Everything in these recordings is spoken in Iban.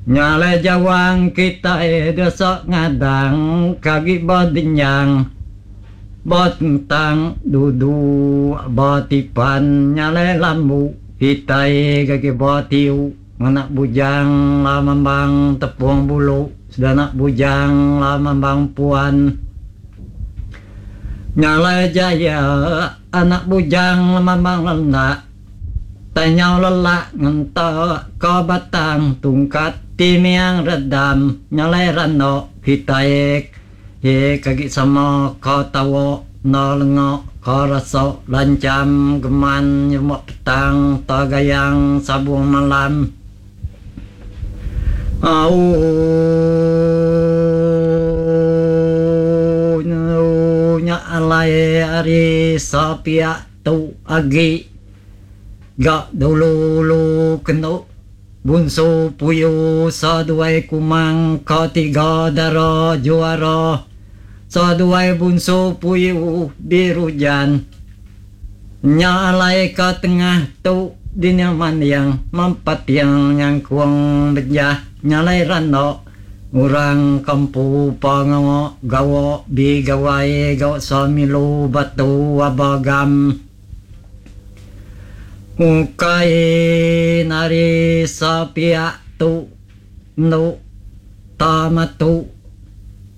Nya alai jawang kitai desa ngadang ke agi bedenyang betentang duduk betipan nya alai lambu kitai ke agi betiu ngena bujang lamambang tepung bulu sedana bujang lamambang puan. Nya alai jaya anak bujang lamambang lenak. Tanyau lelak ngenta ka batang tungkat ti miang redam nyalai rano kitai ke agi sama ka tawa enda lenga ka rasa lancham geman nyerumba petang ta gayang sabung malam. Auu nya alai ari sapiak Tu agi ga dulu-ulu kenu Bunsu Puyu seduai Kumang ka tiga dara juara seduai Bunsu Puyu dirujan. Nya alai ka tengah tu dinya manding mempating nyangkung bejah nyalai randa Orang kampu pengawa gawa di gawai ga semilu batu aba gam. Ukai nari sepiak tu endu ta matu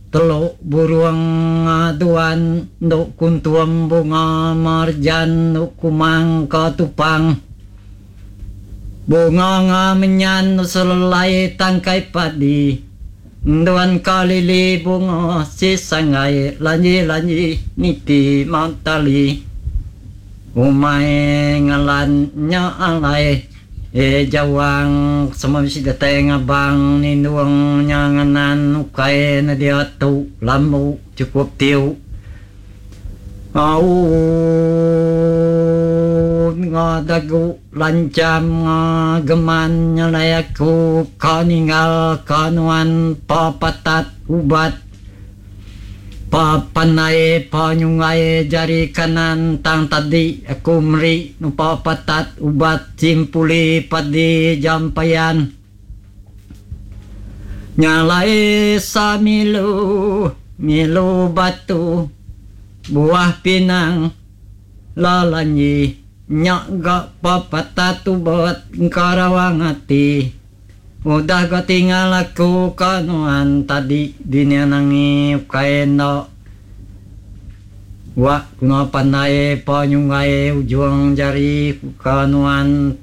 teluk burung aduan endu kuntum bunga merjan endu kumang ka tupang. Bunga nga menyan selelai tangkai padi Enduan ka lili bunga si sanggai lanji-lanji niti mentali Umai ngalan nya alai e jawang semua bisi datai ngabang nindung nya nganan ukai ne diatu lambu chukup tiu. Aun nga dagu lancham nga geman nyalai aku ka ninggal ka nuan pa patat ubat pa pandai pa nyunggai jari kanan tang tadi aku meri nupa patat ubat simpuli padi jampayan. Nyalai samilu milu batu buah pinang lalanyi nya ga pepatah tubet engka rawang ati udah ga tingal aku ka nuan tadi dini nangi ukai enda wa kena pandai pa nyunggai ujung jari ku ka nuan.